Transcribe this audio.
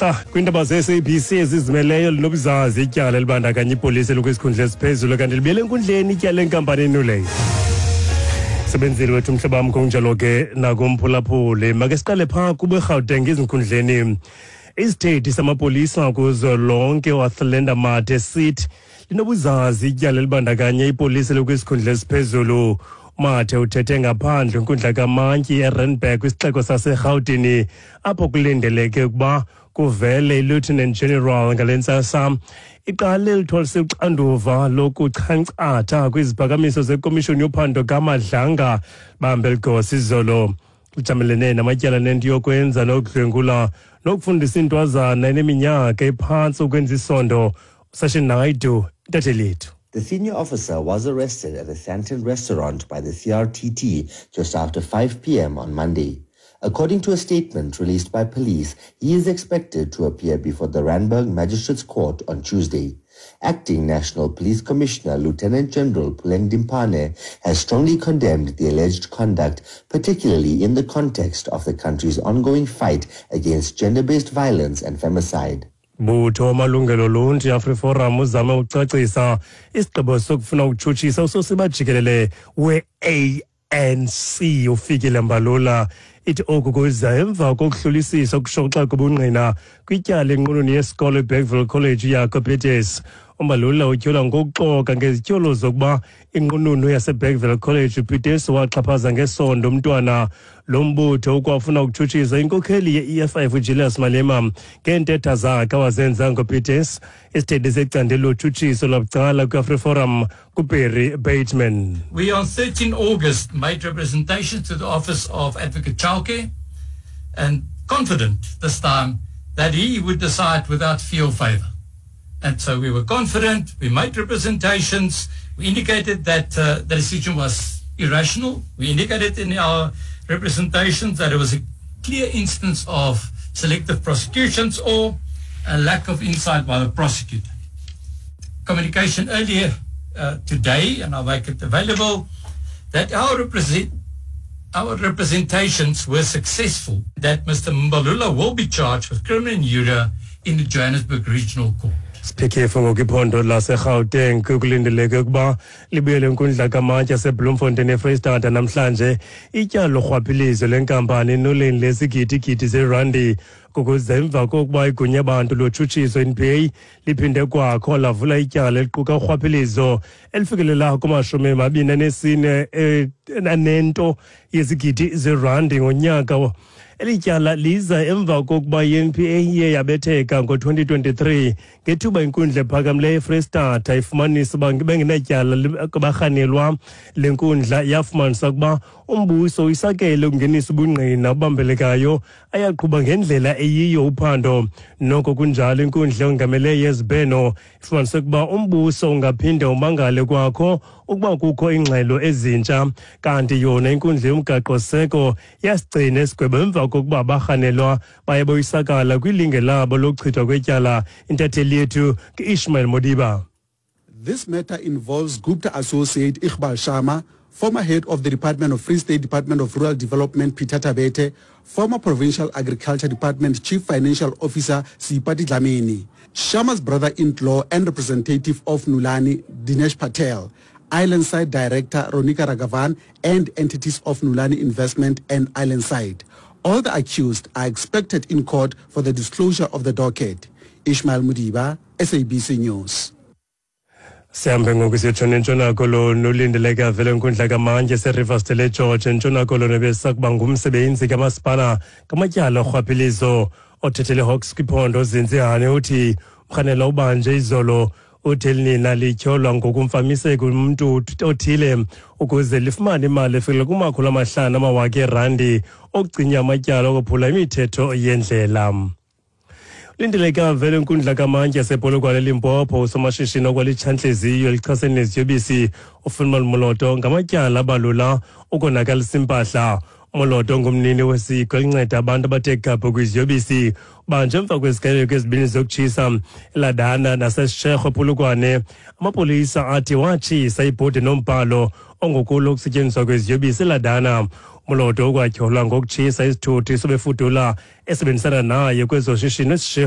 Xa kwiindaba ze-SABC ezizimeleyo linobuzazi ityala elibandakanya ipolisi elikwisikhundla esiphezulu kanti libuyele enkundleni ityala lenkampani enuleyo. Sebenzile wethu mhlobo wam, kunjalo ke nakumphulaphuli. Make siqale phaa kuberhawuteng ezinkundleni. Isithethi samapolisa kuzwelonke uAthlenda Mathe sithi linobuzazi ityala elibandakanya ipolisi elikwisikhundla esiphezulu. Mathe uthethe ngaphandle kwinkundla kamantyi eRandburg kwisixeko saseRhawutini apho kulindeleke ukuba kuvele iLieutenant General ngale ntsasa. Iqale lithwalise uxanduva lokuchankcatha kwiziphakamiso zekomishoni yophando kaMadlanga bambe ligosa izolo. Lijamelene namatyala nento yokwenza nokudlwengula nokufundisa intwazana eneminyaka ephantsi ukwenza isondo. Sashin Naidu, intatheli yethu. The senior officer was arrested at the Sandton restaurant by the CRTT just after 5 p.m. on Monday. According to a statement released by police, he is expected to appear before the Randburg Magistrates Court on Tuesday. Acting National Police Commissioner Lieutenant General Puleng Dimpane has strongly condemned the alleged conduct, particularly in the context of the country's ongoing fight against gender-based violence and femicide. Butho wamalungelo oluntu iAfriForum uzame ukucacisa isigqibo sokufuna ukutshutshisa usosiba jikelele we-ANC uFikile Mbalula. Ithi oku kuza emva kokuhlolisisa ukushoxa kobungqina kwityala enqununu yesikolo iBergville College uJaco Pieterse. UMbalula utyholwa ngokuxoka ngezityholo zokuba inqununu yaseBergville College uPieterse waxhaphaza ngesondo umntwana. Lo mbutho ukwafuna ukutshutshisa inkokheli ye-EFF uJulius Malema ngeentetha zakhe awazenza ngoPieterse. Isithethi secandelo lotshutshiso lwabucala kwiAfriForum kuBarry Bateman. We on 13 August made representations to the office of Advocate Chauke and confident this time that he would decide without fear or favor. And so we were confident, we made representations, we indicated that the decision was irrational. We indicated in our representations that it was a clear instance of selective prosecutions or a lack of insight by the prosecutor. Communication earlier today, and I'll make it available, that our representations were successful, that Mr. Mbalula will be charged with criminal injury in the Johannesburg Regional Court. Siphekefu ngoku iphondo laseGauteng kulindeleke ukuba libuyele inkundla kamantyi yaseBloemfontein eFreystata namhlanje ityala lorhwaphilizo lenkampani noleni lesigidigidi zerandi kukuze emva kokuba igunya bantu lotshutshiso NPA liphinde kwakho lavula ityala eliquka urhwaphilizo elifikelela kuma-24 anento yezigidi zerandi ngonyaka. Eli tyala liza emva kokuba i-NPA iye yabetheka ngo-2023 ngethuba inkundla ephakamileyo eFreystata ifumanisa uba bengenatyala kubarhanelwa. Le nkundla yafumanisa ukuba umbuso uyisakele ukungenisa ubungqina obubambelekayo ayaqhuba ngendlela eyiyo uphando. Noko kunjalo, inkundla yongameleyo yezibheno ifumanise ukuba umbuso ungaphinde umangale kwakho ukuba kukho ingxelo ezintsha. Kanti yona inkundla yomgaqo-seko yasigcina isigwebo emva kokuba abarhanelwa baye boyisakala kwilinge labo lokuchithwa kwetyala. Intatheli yethu ke-Ishmael Modiba. This matter involves Gupta associate Iqbal Sharma, former head of the Department of Free State Department of Rural Development Peter Tabete, former Provincial Agriculture Department Chief Financial Officer Sipati Dlamini, Sharma's brother-in-law and representative of Nulani, Dinesh Patel, Islandside Director Ronika Ragavan, and entities of Nulani Investment and Islandside. All the accused are expected in court for the disclosure of the docket. Ishmael Mudiba, SABC News. Sihambe ngoku siyotshona eNtshona Koloni. Ulindeleke avele inkundla kamantyi eseRiversdale eGeorge eNtshona Koloni besakuba ngumsebenzi kamasipala ngamatyala orhwaphilizo. Othethele Hawks kwiphondo Zinzi Hani uthi umrhanelwa ubanje izolo. Uthi elinina lityholwa ngokumfamiseka umntu othile ukuze lifumane imali efikela kuma-500 amawaka erandi okucinya amatyala okophula imithetho yendlela. Lindeleke avele inkundla kamantyi yasePolokwane eLimpopo usomashishini okwalitshantliziyo elichasene neziyobisi uFilmon Moloto ngamatyala abalula ukonakalisa impahla. Moloto ngumnini wesiko elinceda abantu abathe gabhu kwiziyobisi. Banjwe emva kweziganeko ezibini zokutshisa eLadana naseShego Polokwane. Amapolisa athi watshisa ibhodi nombhalo ongokulo ukusetyenziswa kweziyobisi eLadana. Moloto ukwatyholwa ngokutshisa isithuthi sobefudula esebenzisana naye kwezoshishino eSishego.